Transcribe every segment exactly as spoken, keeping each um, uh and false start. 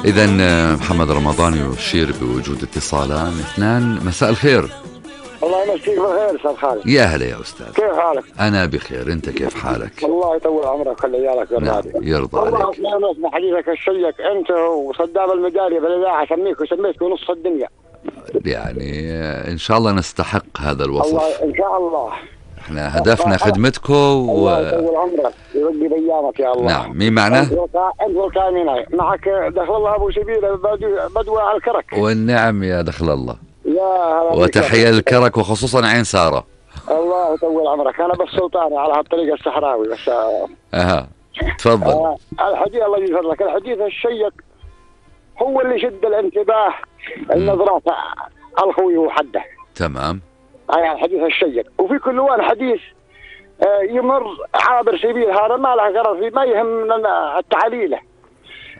إذا محمد رمضان يشير بوجود اتصالان اثنان. مساء الخير. الله يمسيك بالخير استاذ خالد. يا هلا يا استاذ، كيف حالك؟ انا بخير، انت كيف حالك؟ الله يطول عمرك ويخلي عيالك نعم يرضى عليك. والله اسمع حديثك الشيق انت وصدام المجاري بالاذاعه، اسميك وسميتك نص الدنيا. يعني ان شاء الله نستحق هذا الوصف. الله ان شاء الله. احنا هدفنا خدمتكم و... الله يطول عمرك ويرقي بايامك يا الله. نعم. مين معنا؟ انت والكاميناي معك دخل الله ابو سبيل بدوى على الكرك. والنعم يا دخل الله. يا وتحية للكرك وخصوصا عين سارة. الله يطول عمرك. انا بس سلطاني على هالطريقة الصحراوي بس. اها تفضل. آه الحديث الله يجزاك لك. الحديث الشيق هو اللي شد الانتباه النظرات الخوي وحده. تمام. هاي الحديث الشيق. وفي كل وان حديث آه يمر عابر سبيل، هذا ما له غرض فيه، ما يهمنا التعليله.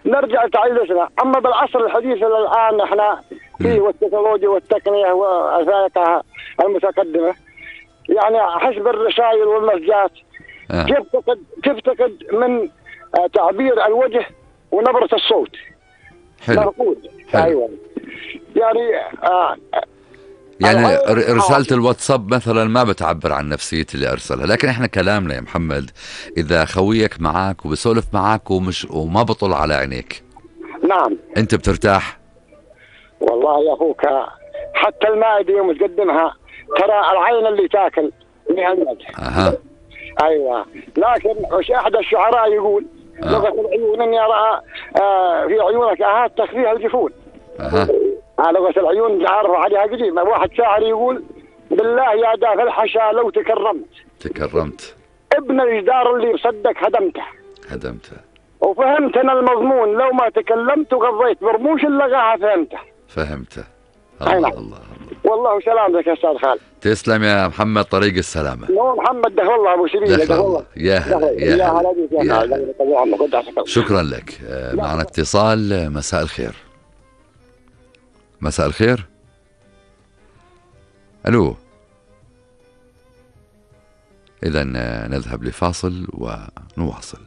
نرجع لتعليلنا. اما بالعصر الحديث الان احنا فيه والتكنولوجيا والتقنيه والفائقه المتقدمه، يعني حسب الرسائل والمسجات آه. تفتقد تفتقد من آه تعبير الوجه ونبره الصوت. حلو. مرفوض. ايوه يعني آه يعني رسالة الواتساب مثلا ما بتعبر عن نفسية اللي أرسلها، لكن إحنا كلامنا يا محمد إذا خويك معك وبسولف معك ومش وما بطل على عينيك، نعم أنت بترتاح؟ والله يا أخوك حتى المائدة يوم تقدمها ترى العين اللي تاكل من المدح. أها. أيوة. لكن وش أحد الشعراء يقول آه. لغة العيون إني أرى آه في عيونك أهات تخفيها الجفون. أها. آه لغة العيون عارف عليها قديم. واحد شاعر يقول بالله يا دافع الحشا لو تكرمت تكرمت ابن الجدار اللي بصدق هدمته هدمته وفهمت أنا المضمون لو ما تكلمت وغضيت برموش اللغاها فهمته فهمته. الله الله, الله. والله سلامتك يا استاذ خالد. تسلم يا محمد، طريق السلامة. نو محمد دخل الله ابو سبيل. دخل الله. يا هلا يا هلا يا هلا. شكرا لك. معنا اتصال. مساء الخير. مساء الخير. الو. اذا نذهب لفاصل ونواصل.